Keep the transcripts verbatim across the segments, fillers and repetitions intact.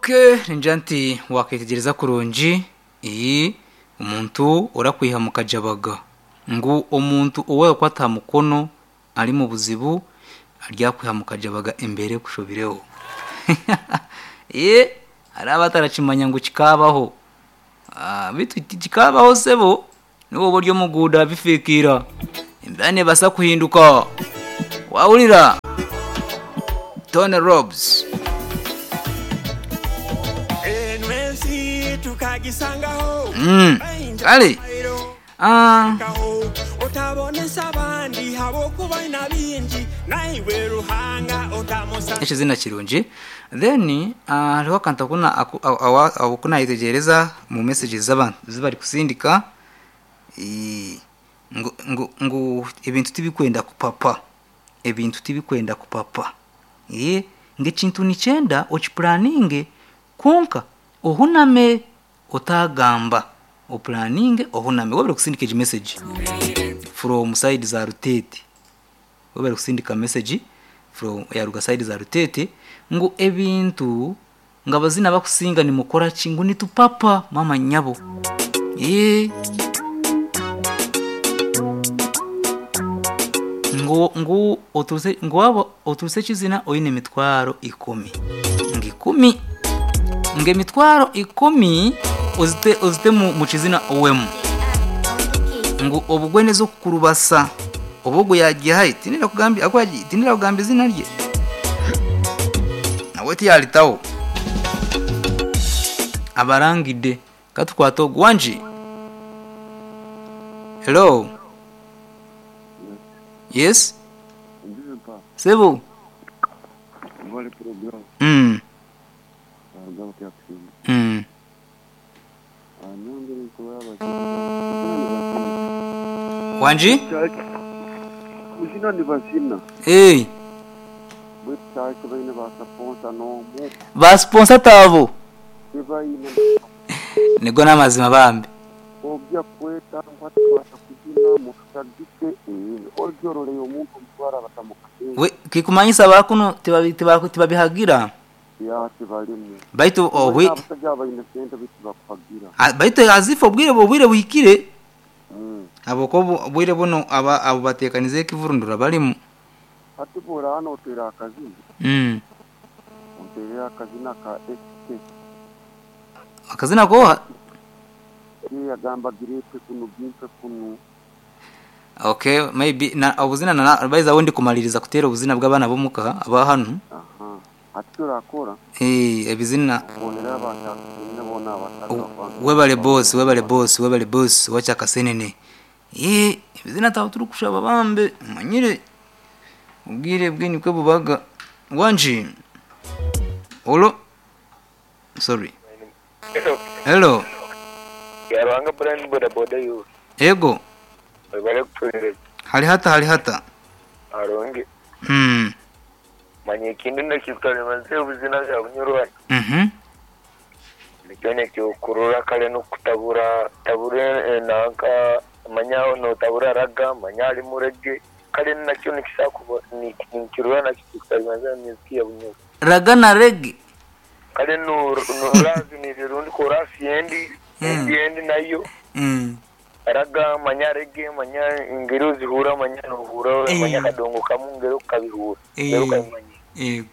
Okay, ningira nti waketegereza kurungi iyi omuntu orakwiha mu kajabaga ngu omuntu owakwata aha mukono ari mu buzibu aryakwiha mu kajabaga embere kushobireho. Ye hari abatarakimanya ngu kikabaho. Ah, bitu kikabaho sebo niwo buryo muguda bifikira embera nebasa kuhinduka wawulira Tony Robs. Enwensi tukagisangaho Mm. Kale ah otabonesa abandi habwokuba ina bingi naiwe ruhanga otamusa ekizina kirungi. Then ah, hariho akantu akuna aku- awa- awa- akunayitegereza mu messages z'abantu zibari kusindika. Eh, ngu, ngu, ngu ebintu tibikwenda kupapa, ebintu tibikwenda kupapa. Eh, ngekintu nikyenda okipuraninge konka ohuname otagamba opuraninge ohuname wabere kusindika egi message from side za Rutete, wabere kusindika message from yaruga side za Rutete ngu ebintu nga abazina bakusinga nimukora ki ngu nitupapa mama nyabo. Eh, ngu ngu oturuse ngu waba oturuse kizina oyine emitwaro ikumi ngu ikumi ngu emitwaro ikumi ozite ozite mu, mu kizina owemu ngu obugweneza okukurubasa obugwe yagiye hayi tinira kugambya akwaji tinira kugamba izina rye nawe tiyalitawo abarangide katukwata ogwanji. Hello. Yes. Ndizo Sebo. vale program Mm. agaba kyakusinga Mm. anyongere nkuba Wanji? kuzina ni basina Hey, bwe church baine basaponsa n'omu ba sponsor tabo. tebaine Nigo n'amazima bambi. ojja kweta nkwatwasa kuzina mututagike ojoroleye omuntu omutwara batamukate We kikumanyisa bakuno tibabi tibaku tibabihagira. ya tebalimu Baitu obwe abasajja abaine sente bitu bakuhagira. a- baitu azifa obwire obwire buhikire. Mm. Aboko obwire buno aba abo batekanize ekivurundura balimu. Hati bwora hano otera akazina Mm. oterera akazina ka S K. Akazina koha? Yagamba girepe kuno gimpe kuno. Okay, maybe na obuzina na baiza wundi kumaliriza kutera obuzina bw'abana bomuka aba hano. Aha ati turakora Eh, ebizina bonera abantu bona abataka webale boss, webale boss, webale boss wacha kasenene. Eh, ebizina tawo turi kushaba bambe manyire ubwire bwini kwe bubaga wanji. Olo. Sorry. Hello. Yarwanga brand boda boda yu Ego. bari kuturire Hali hata hali hata. aronge Mm. manye ikindi nakitwara ubuzina bya bunyurwa Mhm. nikyo nekyokurura kale no kutabura tabure nanka manya no tabura raga manya ali murege kale nakyo nikisakuba nikirura nakyo kitwara muziki ya bunyurwa Raga na reggae. kale no no razi ni rundi korasi endi endi endi nayo Mm. raga manya rege manya ingero zihura manya nohura Eh. manya kadongo kamu ngero kabihura Eh. ngero kabimanya Ego.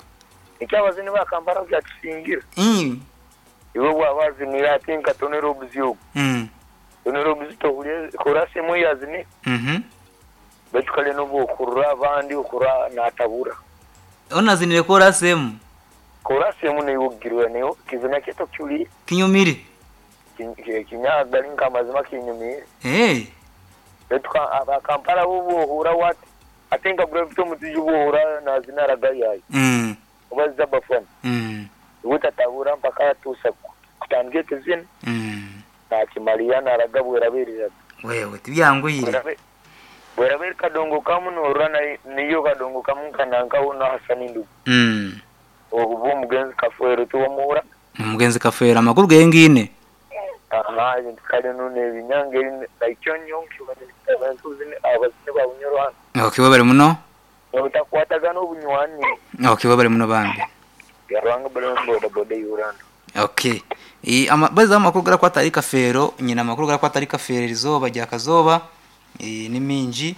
icyo abazini bakambara byatusingira Mm. iwe bwabazinira ati nka tonero obuzibu Mm. tonero obuzibu tohuriye korasi emwe yazini Mhm. baitu kale n'obwokurura abandi okura natabura Onazinire korasi emu. korasi emu niyo ogirwa niyo kizina kyeto kyuli Kinyumire. kinyagali nkamazima kinyumire Eh. baitu abakampala bo bwohura wati ate nka gravity omutiji bwohura nazina ragayayo Mm. obaziza bafana Mm. ubutatabura mpaka atusa kutandika ekizina Mm. nakimaliya naraga bwerabereraga Wewe tibyanguyire. bwerabere kadongo kamu norura niyo kadongo kamu kanankaho nahasani ndugu Mm. obu omugenzi kafuero tiwamuhura Omugenzi kafeera amakuru gengine. aha ebintu kale nuno ebinyange nakyo nyonki abantu abazini babunyoro hano Okay, webale muno. obutakwatagana obunywani Okay, webale muno bambi. yarwanga bale boda boda yuranda. Okay. E, ama, baza amakuru garakwata ari kafeero, nyina amakuru garakwata ari kafeero erizoba rya kazoba e, ni mingi.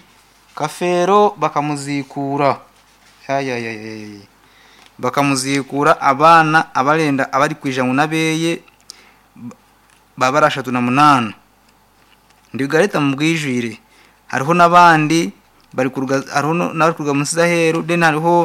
Kafeero bakamuzikura. Ayayayay. Bakamuzikura abaana abarenda abari kwija ngu nabeye baba ari ashatu na munaana. Ndigareta mu bwijwire. Hariho n'abandi bari kuruga, hariho n'abari kuruga munsi z'aheru, then hariho